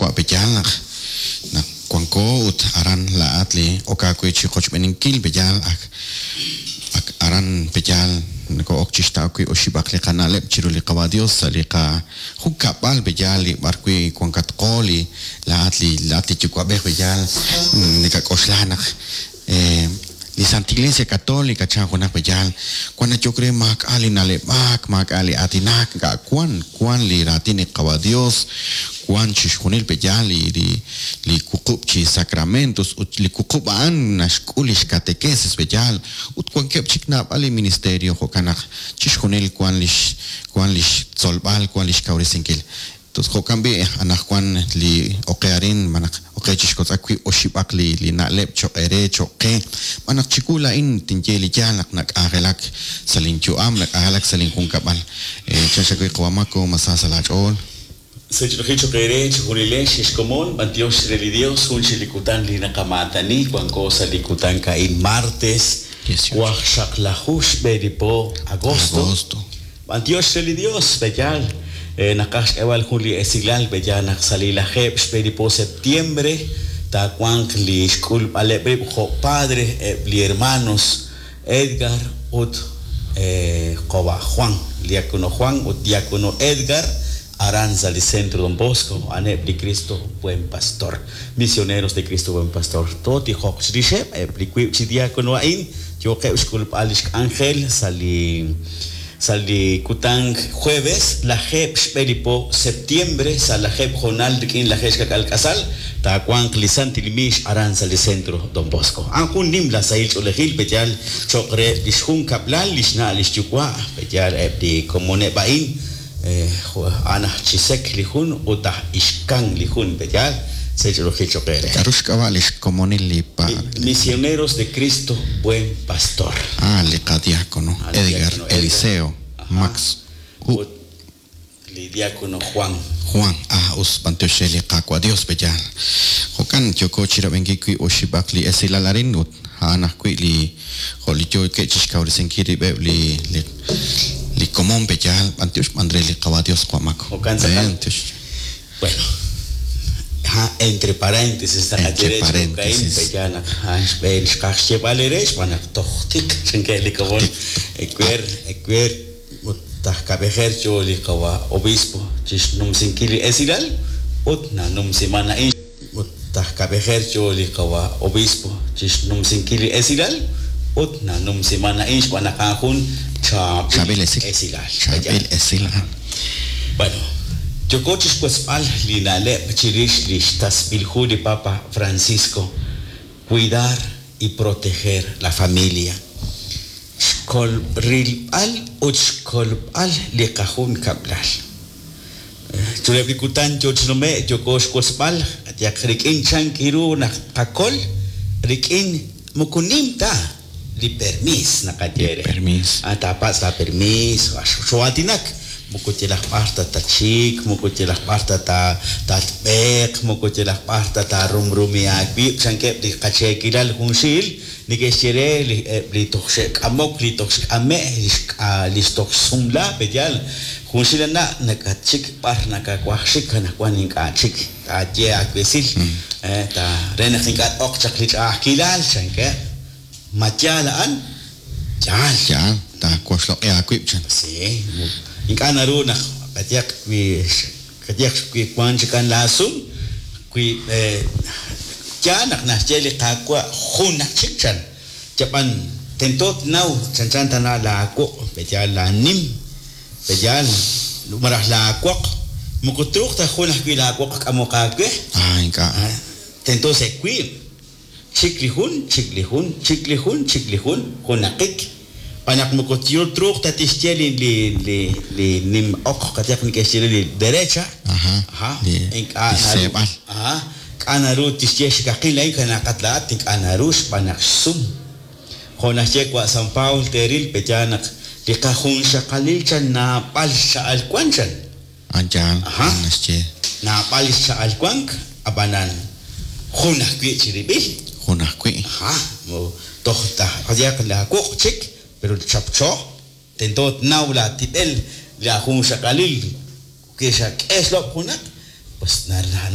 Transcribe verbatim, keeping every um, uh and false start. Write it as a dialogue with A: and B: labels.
A: Qaawa' peyaal naq naq wanko ut aran laa'at li ok aawe chi qochb'eeninkil peyaal ak ak aran peyaal noko'ok chixtaw wi' oxib'aq li qana'leb' chiru li Qawa' Dios sa' li qajunkab'al peyaal li b'ar wi' wankatqo li laa'at li laa'at li yuwa'b'ej peyaal nakak'oxla naq eh, li Santa Iglesia Católica chan junaq peyaal wan nayok re maak'a' li na'leb'aak maak'a' li aatinak ink'a' wan wan li raatin li Qawa' Dios wan chixjunil peyaal li li li wuqub' chi sacramentos ut li wuqub' a'an naxk'ul lix catequesis peyaal ut wankeb' chik naab'al li ministerio jo'kan naq chixjunil wan lix wan lix tzolb'al wan lix kawresinkil. Entonces jo'kan b'i anaqwan li oqe arin manaq oqe chixkotz'aq wi' oxib'aq li li na'leb' choq' eere choq' qe b'anaq chiwu laa'in tinye li yaal naq nak'anjelak sa' linyu'am nak'anjelak sa' linjunkab'al. Chan xawi qawamako masa sa' laach'ool.
B: Sech'oji choq' eere chijunilex xkomon b'antiox re li Dios jun chi li kutan li naqamaatani wanko sa' li kutan ka'in martes waqxaqlaju xb'e li po agosto.
A: Agosto.
B: B'antiox re li Dios b'eyal naqaj xk'eb'al jun li esilal b'eyal naq sa' li lajeb' xb'e li po septiembre taawanq li xk'ulb'aleb' rib' jo' padre eb' li hermanos Edgar ut Qoba Juan, diácono Juan ut diácono Edgar aran sa' li Centro Don Bosco a'aneb' li Cristo Buen Pastor, misioneros de Cristo Buen Pastor. Tootijoq chirixeb' eb' li wiib' chi diácono a'in yooqeb' xk'ulb'al lix k'anjel sa' li sa' li kutan jueves lajeb' xb'e li po septiembre sa' lajeb' jonal rik'in lajeb' xkak'al k'asal taawanq li Santil Mix aran sa' li Centro Don Bosco. A'an jun nim la sahil ch'oolejil b'eyal choq' re lix junkab'lal lix na' lix yuwa' b'eyal eb' li komoneb' a'in a'an aj Chisek li jun ut aj Ixkan li jun b'eyal sech'oolejil choq' eere.
A: K'a'ru xk'ab'a' lix komonil li pa-
B: Misioneros de Cristo Buen Pastor.
A: Ah, li qadiácono
B: Ah, li
A: Edgar
B: diácono Edgar.
A: Eliseo
B: Ajá.
A: Max
B: Ut li diácono Juan.
A: Juan, ah, us b'antiox re li Qaawa' Dios b'eyal. Jo'kan yoko chirab'enkil wi' oxib'aq li esilal arin ut a'an ajwi' li jo' li yookeb' chixkawresinkil rib'eb' li li li komon b'eyal b'antiox b'an re li Qawa' Dios Qamako.
B: Jo'kan tz'aqal.
A: B'antiox.
B: Bueno, ha, entre paréntesis
A: Entre
B: naqaye re
A: paréntesis.
B: b'eyal naq a'an xb'een xqaj xyeb'al eere xb'aan naq toj tik chankeb' li komon ekwer ekwer ut taj kab'ejer yo li Qawa' obispo chixnumsinkil li esilal ut nanumsiman a'in ut taj kab'ejer yo li Qawa' obispo chixnumsinkil li esilal ut nanumsiman a'in xb'aan naq a'an jun chaab'il
A: Chaab'il esil.
B: esilal.
A: Chaab'il esilal.
B: Bueno, yoko chixwesb'al li na'leb' chirix li xtasb'ilju li Papa Francisco, cuidar y proteger la familia. Xkolb'rilb'al ut xkolb'al li qajunkab'lal. Chuleb' li kutan yochnume' yoko xwesb'al yaq rik'in chan kiru naq qakol rik'in moko nim ta li permis naqaye re.
A: Permis.
B: Ah, taapatz' la permis, xoatinak moko yalaq b'ar ta tachik, moko yalaq b'ar ta ta tatb'eq, moko yalaq b'ar ta taarumrumi aawib' chankeb' li qacheekilal junxil neke'xye re li eb' li toj xe'k'amok, li toj xk'ame', li xk'a- li toj xsumla b'eyal junxil ana' nakatchik b'ar nakawaj xik anaqwan ink'a' chik taaye aawesil eh, ta re naq ink'a' t'oq chaq li ch'a'ajkilal chankeb' ma yaal a'an yaal.
A: Yaal, taawoxloq'i aawib' chan.
B: Sí, ink'a' naru naq qayaq wi qayaq wi wan chikan laasum wi yaal naq naxye li Qaawa' jun aj chik chan chab'an tento tnaw chanchan tana laawoq b'eyal laanim b'eyal maraj laawoq moko truuq ta jun ajwi' laawoq k'amoq aawe.
A: Ah, ink'a'.
B: Ah, tento se wiib' chik li jun chik li jun chik li jun chik li jun junaqik b'anaq moko truuq ta tixye li li li li nim oq qayaq neke'xye li derecha.
A: Ajá.
B: Ajá.
A: Li
B: Ink'a'
A: li
B: naru.
A: seeb'al.
B: Ajá. K'a' naru tixye xkaqil a'in kanaqat laa'at ink'a' naru xb'aan naq xsum. Jo' naxye wa' San Paul teeril b'eyal naq li qajunxaqalil chan naab'al xcha'al wan chan.
A: An yaal,
B: Ajá.
A: naxye.
B: Naab'al xcha'al wank ab'anan jun ajwi' chirib'il.
A: Jun ajwi'.
B: Ajá. Toj ta qayaq laawoq chik pero chapcho tento tnaw la tib'el la junxaqalil ke xak'e xlob' junaq pues